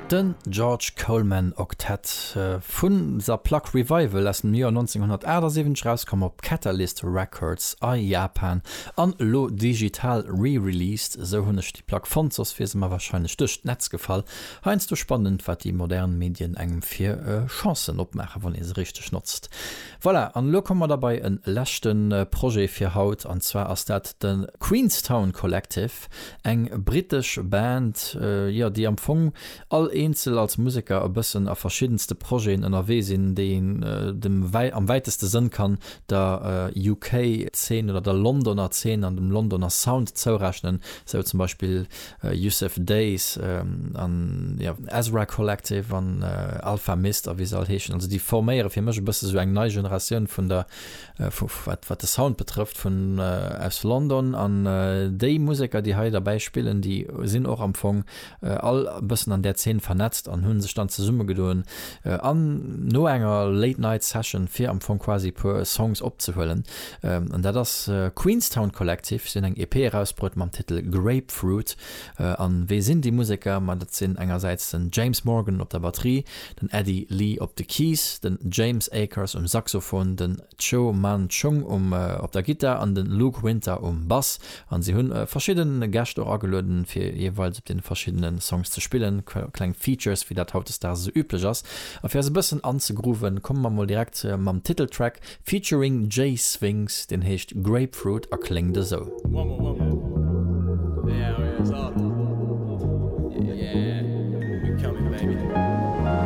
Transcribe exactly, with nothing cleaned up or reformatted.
Den George Coleman Octet vun der Plack Revival aus dem Joer nonzénghonnertaachtsiwwenzeg, rauskomm op Catalyst Records a Japan an elo digital re-released. Esou hunn ech déi Plack fonnt, soss wier se mer warscheinlech duerch d'Netz gefall. Heiansdo spannend, wat déi modern Medien engem fir Chancen opmaachen, wann ee se richteg notzt. Voilà, an elo komme mer da bei e leschte Projet fir haut, an zwar ass dat de Queenstown Collective, eng brittesch Band, jo, déi am Fong all eenzel als Museker e bëssen a verschiddenste Projeten ënnerwee sinn, déi een dem am wäiteste Sënn kann der U K-Zeen oder der Londoner Zeen an dem Londoner Sound zourechnen, sou zum Beispill Yussef Dayes an jo Ezra Collective an Alfa Mist a wéi se all heeschen. Also déi forméiere fir mech e bësse sou eng nei Generatioun vun der vu wat wat de Sound betrëfft vun aus London, an déi Museker, déi hei derbäi spillen, déi sinn och am Fong all e bëssen an där Zeen vernetzt an hunn sech dann zesummegedoen an no enger Late Night Session fir am Fong quasi puer Songs opzehuelen. An dat ass Queenstown Collective. Si hunn eng E P erausbruet mam Titel Grapefruit. An wee sinn déi Museker? Ma dat sinn engersäits den James Morgan op der Batterie, den Eddie Lee op de Keys, den James Akers um Saxophon, den Cho Man Chung um op der Gittar an den Luke Winter um Bass. An si hunn verschidden Gäscht och agelueden, fir jeeweils op den verschiddenen Songs ze spillen, kleng Features, wéi dat hautdesdaags esou üblech ass. A fir eis e bëssen anzegrooven, komme mer mol direkt mam Titeltrack featuring Jay Sphinx, deen heescht Grapefruit a kléngt esou. One more, one more. Yeah, yeah,